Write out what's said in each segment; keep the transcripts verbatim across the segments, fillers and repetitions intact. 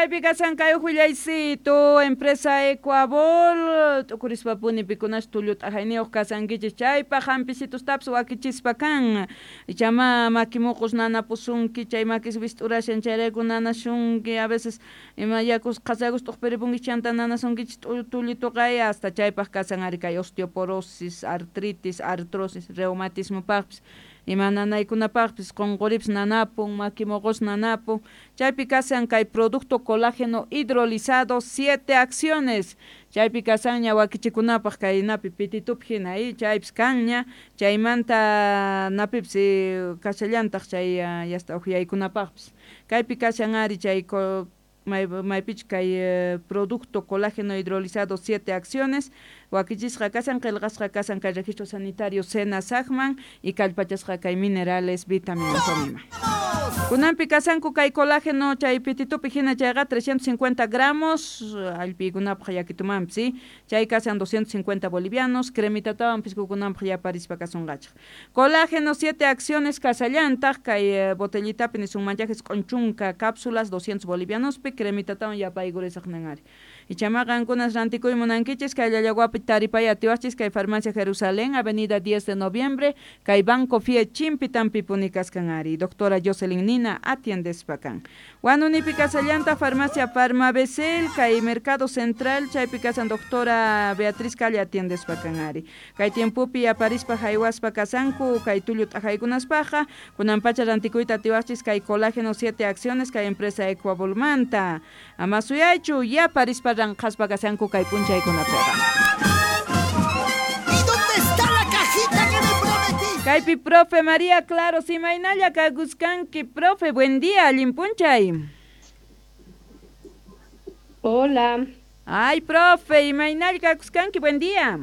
Kaypi kashan kay willaycito empresa Ecuabol t'ukurispa pikunash tullu t'ajayniyuq kasankichis chaypaq hampicitostapis wakichispa kan ichama maki muqus nanapusunki chay makis wist'urashan chayrayku nanasunki a veces ima yakus qhasakus t'uqpiripunki chanta nanasunkichis tullituqa hasta chaypaq kasan ari kay osteoporosis, artritis, artrosis, reumatismopaqpis ima nanaykunapaqpis qunquripis nanapun maki muqus nanapun chaypi kasan kay producto colágeno hidrolizado siete acciones chaypi kasanña wakichikunapaq kaynapi pititupi hina chaypis kanña chaymanta napipis kashallantaq chay yasta uqyaykunapaqpis kaypi kashan ari chay maypichu kay producto colágeno hidrolizado siete acciones wakichisqa kashan qillqasqa kashan kay registro sanitario SENASACman y kallpachasqa kay minerales vitaminas ima kunanpi kasanku kay colágeno chay pititupi hina chayqa trescientos cincuenta gramos allpiykunapaq yakitumanpis ¿sí? Chay kasan doscientos cincuenta bolivianos cremitatawan pisqukunanpaq yaparispa kasunqachaq colágeno siete acciones kasallantaq kay botellitapi nisunmanchaq isq'un chunka cápsulas doscientos bolivianospi cremitatawan yapaykurisaq nin ari ichama qankunas rantikuy munankichis kay Llallaguapi taripay atiwaqchis kay Farmacia Jerusalén Avenida diez de Noviembre kay Banco Fie Chimpi tampipuni kaskan ari doctora Jocelyn Nina atiendespa kan Huanunipi kasallanta Farmacia Farmabecel kay Mercado Central chaypi kasan doctora Beatriz Calle atiendespa kan ari kay tiempopi aparispa haywaspa kasanku kay tullu t'ajaykunaspaqa kunan pacha rantikuyta atiwaqchis kay colágeno siete acciones kay empresa Ecuabolmanta ama suyaychu yaparispa ranqaspa kasanku kay p'unchaykunapiqa. ¿Y dónde está la cajita que me prometiste? Kaypi profe María Claro, imaynalla kakuskanki, profe, buen día, allin p'unchay. Hola. Ay, profe, imaynalla kakuskanki, buen día.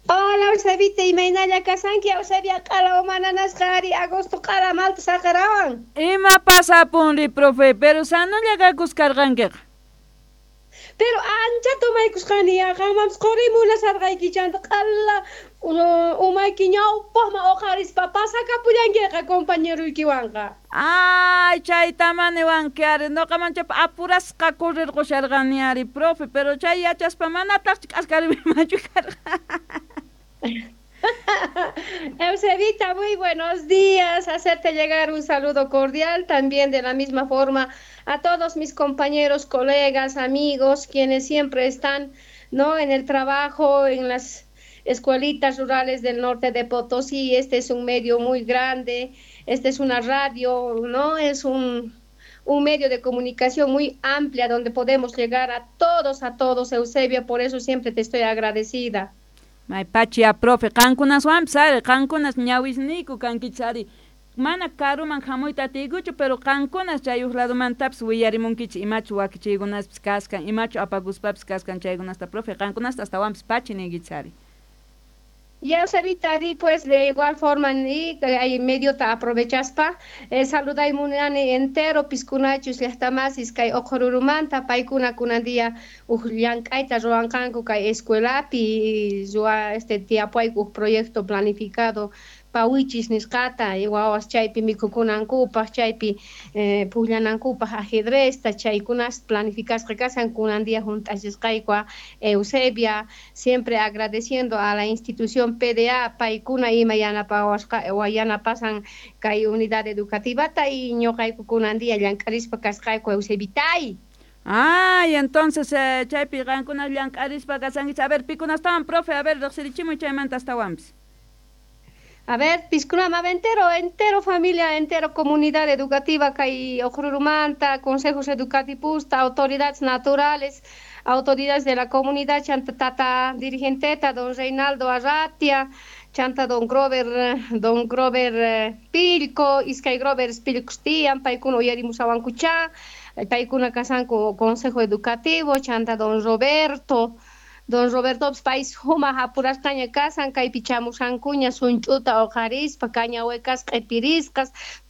Hola, Eusebita, imaynalla kasanki, Eusebia q'ala umananasqa ari agosto q'ala malta saqarawan. Ima pasapunri, profe, pero sanolla kakuskarqankiqa. Pero ancha tomaykusqani ya qanmanpis qurimunasarqayki chanta q'ala umayki ñawpaqman uqarispa pasakapullankiqa compañeruykiwanqa. Ay, chayta maniwanki ari ñuqa manchapa apurasqa corrirqusharqani ari profe, pero chay yachaspa manataqchu k'askariymanchu karqa. Eusebita, muy buenos días. Hacerte llegar un saludo cordial también de la misma forma a todos mis compañeros, colegas, amigos, quienes siempre están, ¿no?, en el trabajo, en las escuelitas rurales del norte de Potosí. Este es un medio muy grande, este es una radio, ¿no? Es un, un medio de comunicación muy amplia donde podemos llegar a todos, a todos, Eusebio, por eso siempre te estoy agradecida. May pachia, profe, qankunaswanpis ari, qankunas ñawisniyku kankichis ari. Mana karuman hamuyta atiykuchu, pero qankunas chay huk ladumantapis willarimunkichis imachu wakichiykunaspis kaskan, imachu apakuspapis kaskan chaykunasta, profe, qankunasta astawanpis pachi niykichis ari. Ya, Eusebita, di pues de igual forma ni hay medio ta aprovechaspa eh, saluday munani entero piskunachus llaqtamasis kay Uqururumanta paykuna kunan día uj llank'ayta ruwanqanku kay escuelapi ruwa este tiyapuayku proyecto planificado pawichis nisqata wawas chaypi mikhukunankupaq chaypi eh, pukllanankupaq ajedrezta chaykunas planificasqa kasan kunan día hunt'achisqayku Eusebia, siempre agradeciendo a la institución P D A paykuna ima yanapawasqa yanapasan kay unidad educativata y ñuqayku kunan día llank'arispa kasqayku Eusebitay. Ay, entonces eh, chaypi qankuna llank'arispa kasankichis. A ver, pikunastawan, profe, a ver, riqsirichimuy chaymanta astawanpis. A ver, piskunama entero, entero familia, entero comunidad educativa kay Uqururumanta, consejos educativos, autoridades naturales, autoridades de la comunidad, chanta tata dirigenteta, don Reinaldo Arratia, chanta don Grover, don Grover Pilco, iskay Grover Pilcostian, paykuna uyarimusawankucha, paykuna kasanku consejo educativo, chanta don Roberto, don Roberto pais huma apurasqaña kasan kaypi chamusankuña sunch'uta uqarispa cañahuecas q'ipirisqas